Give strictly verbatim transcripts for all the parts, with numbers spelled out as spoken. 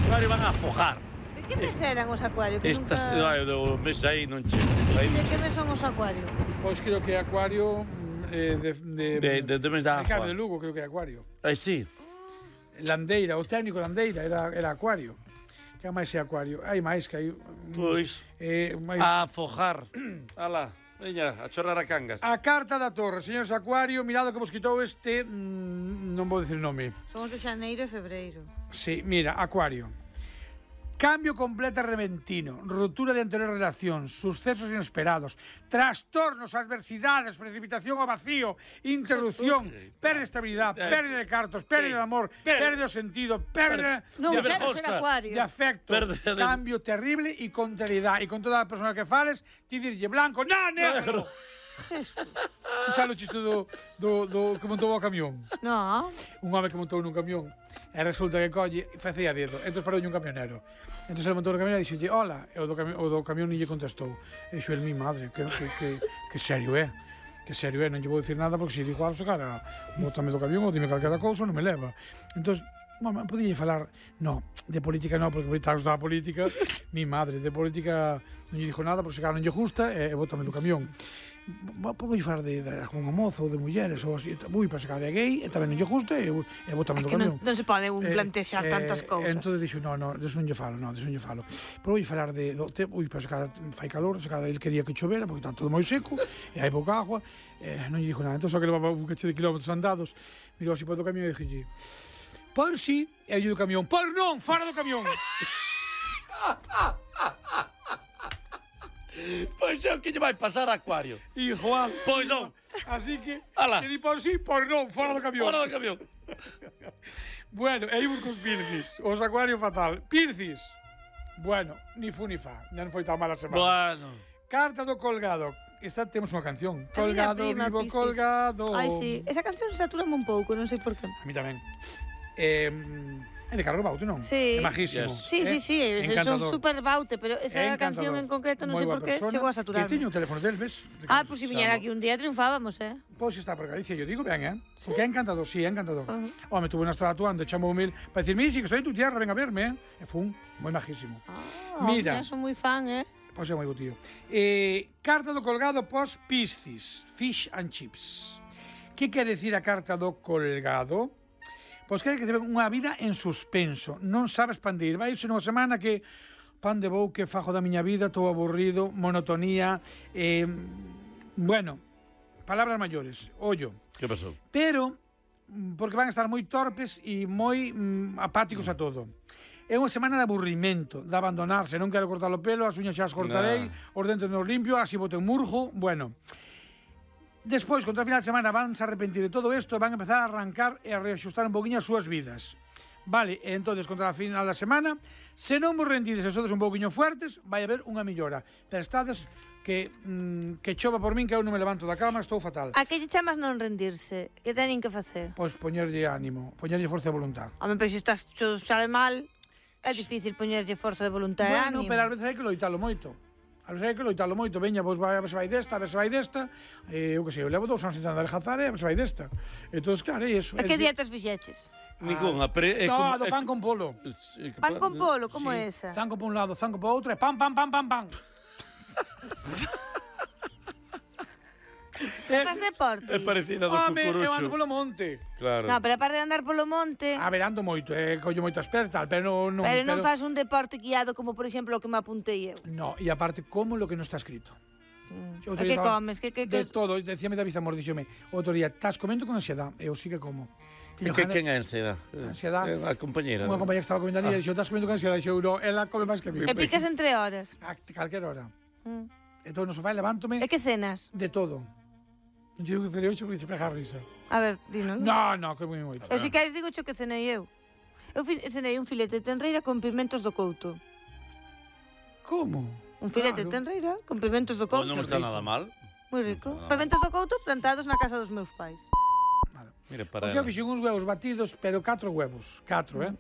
acuario van a afogar. De que mes eran os acuarios? Que Estas, nunca... ai, do mes aí non che... De que mes son os acuarios? Pois creo que é acuario eh, de, de, De, de, de mes da Ricardo agua. de Lugo, creo que é acuario. Ai, sí. Landeira, o técnico Landeira era, era acuario. Que máis é acuario? Hai máis que hai... Pois, Eh, máis... a afogar. Ala, veña, a chorrar a cangas. A carta da torre, señores acuario, mirado que vos quitou este... Mmm, non vou dicir nome. Son os de xaneiro e febreiro. Sí, mira, acuario. Cambio completo e repentino, ruptura de anteriores relacións, sucesos inesperados, trastornos, adversidades, precipitación ao vacío, interrupción, pérdida de estabilidade, pérdida de cartos, pérdida de amor, pérdida de sentido, pérdida Non de, quero ser acuario. de afecto, Pérdida de- cambio terrible e contrariedade. E con toda a persona que fales, ti dirlle blanco, non, negro. Un salo chiste do, do, do que montou o camión. No. Un home que montou nun camión e resulta que colle e facía dedo. Entón parou un camionero. Entón ele montou no camión e dixolle, hola, e o do, cami o do camión non lle contestou. E dixo el, mi madre, que, que, que, que serio é. Que serio é, non lle vou dicir nada porque se digo algo, cara, bótame do camión ou dime calquera cousa, non me leva. Entón, mamá, podía falar, no, de política non, porque ahorita gustaba a política, mi madre, de política non lle dixo nada, porque se cara non lle justa, e, e bótame do camión. Podo falar de, de algún mozo ou de mulleres ou así, ui, para se cara é gay, e tamén non lle justa, e, e bótame do Que camión. non, non se pode un plantexar Eh, tantas eh, cousas. Entón dixo, no, no, deso non lle falo, no, deso non lle falo. Pero vou falar de, do te, ui, para se cada fai calor, se cada el quería que chovera, porque está todo moi seco, e hai pouca agua, eh, non lle dixo nada. Entón só que levaba un caché de kilómetros andados, mirou así para o camión e dixolle, por si, e eu do camión, por non, fora do camión. Pois é o que lle vai pasar a acuario. E Juan, Pois non. así que, Ala. que di por si, por non, fora do camión. Fora do camión. Bueno, e imos cos Piscis, os acuario fatal. Piscis, bueno, ni fu ni fa, non foi tan mala semana. Bueno. Carta do colgado. Esta temos unha canción. A Colgado, miña prima, vivo Piscis. colgado. Ai, sí. Esa canción satúrame un pouco, non sei por qué. A mí tamén. Eh, é de Carlos Baute, non? Sí. É majísimo. Yes. Sí, sí, sí, Eh, son encantador. super baute, pero esa É canción encantador. en concreto non Moi sei boa por qué persona. chegou a saturarme. Que teño o teléfono del, ves? De Ah, Carlos. pois se viñera aquí un día triunfábamos, eh? Pois está por Galicia, yo digo ben, eh? Porque é encantador, sí, é encantador. Uh -huh. Home, tuve unha estrada actuando, chamou mil para decir, mira, si que soy de tu tierra, ven a verme, eh? E fun, moi majísimo. Ah, Mira. Mira. Son moi fan, eh? Pois é moi bo tío. Eh, carta do colgado pos Piscis, fish and chips. Que quere decir a carta do colgado? Pois quere que te unha vida en suspenso. Non sabes pan de ir. Vai ser unha semana que pan de vou que fajo da miña vida, estou aburrido, monotonía, eh, bueno, palabras maiores, ollo. Que pasou? Pero, porque van a estar moi torpes e moi mm, apáticos a todo. É unha semana de aburrimento, de abandonarse, non quero cortar o pelo, as uñas xa as cortarei, Nah. os dentes nos limpio, así bote un murjo, bueno. Despois, contra o final de semana, van a arrepentir de todo isto e van a empezar a arrancar e a reaxustar un poquinho as súas vidas. Vale, e entonces, contra a final da semana, se non vos rendides e sodes un poquinho fuertes, vai haber unha millora. Pero estades que, mm, que chova por min que eu non me levanto da cama, estou fatal. A que lle chamas non rendirse? Que teñen que facer? Pois poñerlle ánimo, poñerlle forza de voluntad. Home, pero se estás cho sabe mal, é difícil poñerlle forza de voluntade e Bueno, ánimo. pero ás veces hai que loitalo moito. Ás veces hai que loitalo moito. Veña, pois vai, a ver se vai desta, a ver se vai desta. Eh, eu que sei, eu levo dous anos intentando adelgazar e a ver se vai desta. Entón, claro, é iso. E que dietas fixeches? Ninguna, pero é No, como... do pan con polo. Sí, que Pan con polo, como é esa? Zanco por un lado, zanco por outro e pam, pam, pam, pam, pam. Faz deporte? É parecida do Home, eu ando cucurucho. polo monte. Claro. No, pero aparte de andar polo monte... A ver, ando moito, eh, collo moito as pertas, tal, pero non... Pero non faz un deporte guiado como, por exemplo, o que me apuntei eu. No, e aparte, como lo que non está escrito. Mm. Outro E que día estaba- comes? Que, que, De que... todo, decíame David Amor, díxome, outro día, estás comendo con ansiedade? Eu sí que como. E que quen é ansiedade? Ansiedade. É a compañera. Unha compañera que estaba comendo ali e dixo, estás comendo con ansiedade? Dixo, no, ela come máis que a mí. E picas entre horas. A calquer hora. Mm. Entón, no sofá, levántome E que cenas? de todo. Non te digo que cenei hoxe porque te pega a risa. A ver, dinos. No, no, que moi moito. Eu si queres digo cho que cenei eu. Eu fi- cenei un filete de tenreira con pimentos do couto. Como? Un filete de Claro. tenreira con pimentos do Pois couto. non está nada mal. Moi rico. Ah. Pimentos do couto plantados na casa dos meus pais. Mire, para... Pois eu fixen uns huevos batidos, pero catro huevos. Catro, eh?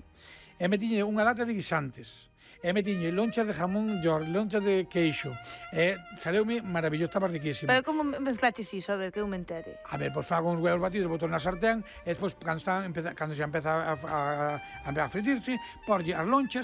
E metiñe unha lata de guisantes. E metiñe lonchas de jamón york, lonchas de queixo. E saleume maravilloso, estaba riquísimo. Pero como mezclaches iso? A ver, que eu me entere. A ver, pois fago uns huevos batidos, boto na sartén, e despois, cando, está, empeza, cando xa empeza a, a, a, a fritirse, porlle as lonchas,